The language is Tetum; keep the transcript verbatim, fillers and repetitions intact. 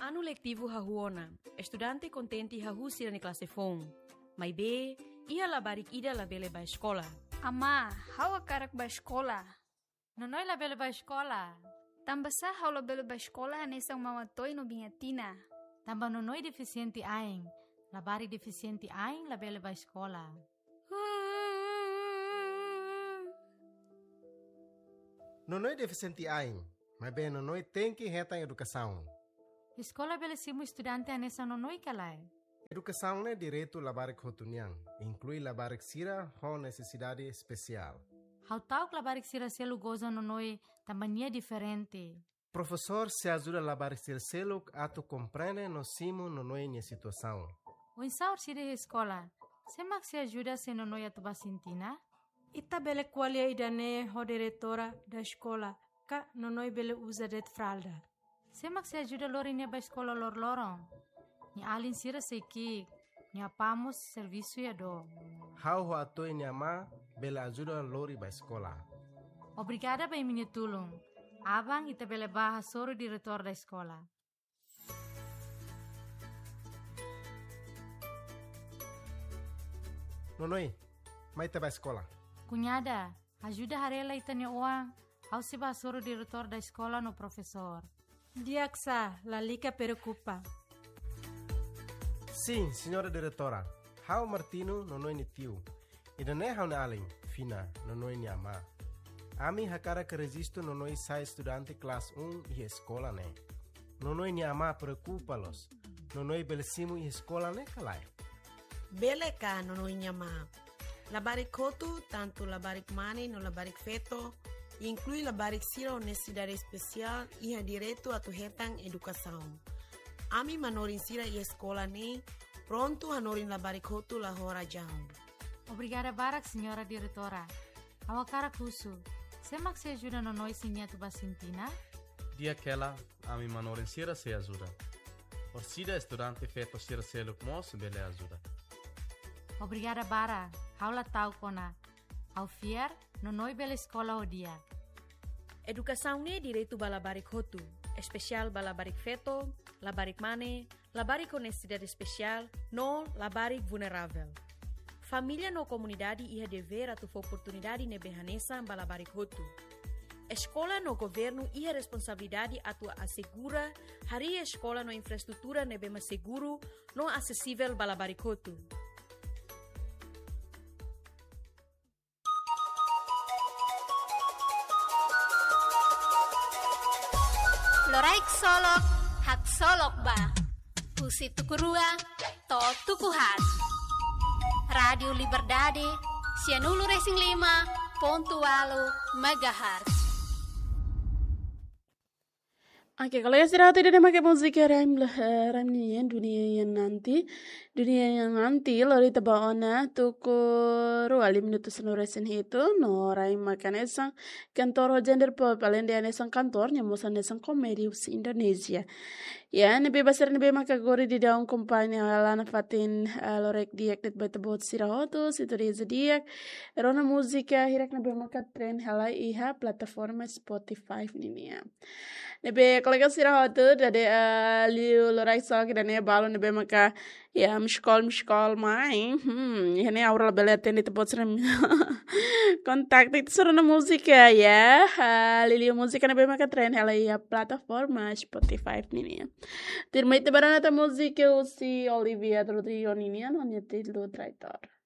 Anu letivu hahú ona, estudante kontente hahú sira-nia klase foun. Maibé, iha labarik ida labele bá eskola. Amá, ha'u hakarak bá eskola. Nonoi labele bá eskola. Tanbasá ha'u labele bá eskola hanesan Mama Toy no Biña Tina? Tanba Nonoi defisiente ain. Labarik defisiente ain labele bá eskola. Nonoi defisiente ain, maibé Nonoi tenke hetan edukasaun. Eskola bele simu estudante hanesan Nonoi ka lae? Edukasaun ne'e direitu labarik hotu nian, inklui labarik sira ho nesesidade espesiál. Ha'u ta'uk labarik sira seluk goza Nonoi tanba nia diferente. Profesór sei ajuda labarik sira seluk atu komprende no simu Nonoi nia situasaun. Oinsá orsida iha eskola? Sé mak sei ajuda se Nonoi atu bá sintina? Ita bele ko'alia ida-ne'e ho diretora da eskola, ka Nonoi bele uza de'it fralda. Sé mak sei ajuda lori nia bá eskola loroloron? Nia alin sira sei ki'ik, nia apá mós servisu iha dook. Ha'u ho Atoy nia amá bele ajuda lori bá eskola. Obrigada ba imi-nia tulun. Aban ita bele bá hasoru diretór da eskola. Nonoi, mai ita bá eskola. Kuñada, ajuda haree lai ita-nia oan, ha'u sei bá hasoru diretór da eskola no profesór. Di'ak sá, lalika preokupa. Sin, señora diretora. Ha'u Martino, Nonoi nia tiu. Ida-ne'e ha'u-nia alin, Fina, Nonoi nia amá. Ami hakarak rejistu Nonoi sai estudante klase um iha eskola ne'e. Nonoi nia amá preokupa loos. Nonoi bele simu iha eskola ne'e ka lae? Bele ka, Nonoi nia amá. Labarik hotu, tantu labarik mane no labarik feto, inklui labarik sira ho nesesidade espesiál, iha direitu atu hetan edukasaun. Ami manorin sira iha eskola ne'e prontu hanorin labarik hotu la ho razaun. Obrigada barak, señora diretora. Ha'u hakarak husu, sé mak sei ajuda Nonoi se nia atu bá sintina? Di'ak hela, ami manorin sira sei ajuda. Orsida estudante feto sira seluk mós bele ajuda. Obrigada barak, ha'u la ta'uk ona. Ha'u fiar, Nonoi bele eskola ho di'ak. Edukasaun ne'e direitu ba labarik hotu, espesiál ba labarik feto, labarik mane, labarik ho nesesidade espesiál, no labarik vulneravel. Família no komunidade iha devér atu fó oportunidade ne'ebé hanesan ba labarik hotu. Eskola no governu iha responsabilidade atu asegura harii eskola no infraestrutura ne'ebé mak seguru no asesivel ba labarik hotu. Loraik solok, haksolok ba. Husi tuku rua to'o tuku haat. Rádiu Liberdade, sianulu resin lima pontu ualu megahertz. Oke, kolega sira hotu, ida-ne'e mak múzika Raim, eh, Raim nian, Dunia yang Nanti. Dunia yang Nanti, lori ita ba ona tuku rua liu minutu sanulu resin hitu, no Raim mak hanesan kantór ho gender pop, aleinde hanesan kantór, nia mós hanesan komédia husi Indonézia. Ya, ne'ebé ba sira ne'ebé maka agora daudaun akompaña hela nafatin, eh, loraik di'ak de'it ba ita-boot sira hotu, sintonia di'ak. Rona múzika hirak ne'ebé maka trend hela iha plataforma Spotify ninian. Ne'ebé kolega sira hotu, dadaun, eh, liu loraik solok ida-ne'e balu ne'ebé maka, ya, miss call, miss call mai. Hmm, iha ne'e ha'u labele atende ita-boot sira-nia kontaktu, ita sei rona múzika, ya. Ah, liuliu múzika ne'ebé maka trend hela iha plataforma Spotify ninian. Tuirmai ita bá rona tan múzika husi Olivia Rodrigo ninian, no nia títulu Traidor.